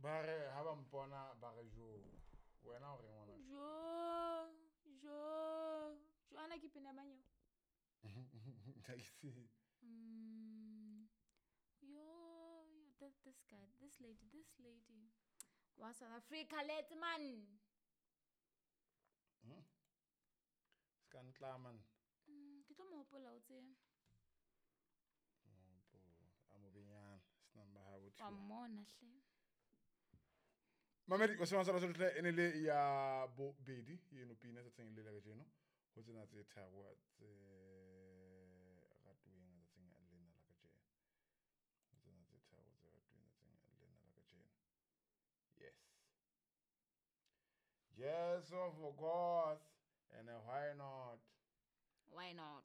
Ba re ha ba mpona ba re jo. Wena o reng ngwana? Jo, jo. Jo ana ke pina mang eo? Ha ke tsebe. Yo, yo, that, this guy, this lady, this lady. Wa South Africa, let's man. Se ka ntla man. Ke tlo mo hopola o tsebe. A mo benyana, se nang ba ha bo Wa thiba. mmona hle. Mamedi wa semang sa tle e ne le ya bobedi eno pina tsatsing le la kajeno ho tsena tse tharo tse ratuweng tsatsing lena la kajeno. Ho tsena tse tharo tse ratuweng tsatsing lena la kajeno. Yes. Yes, of course. And why not? Why not?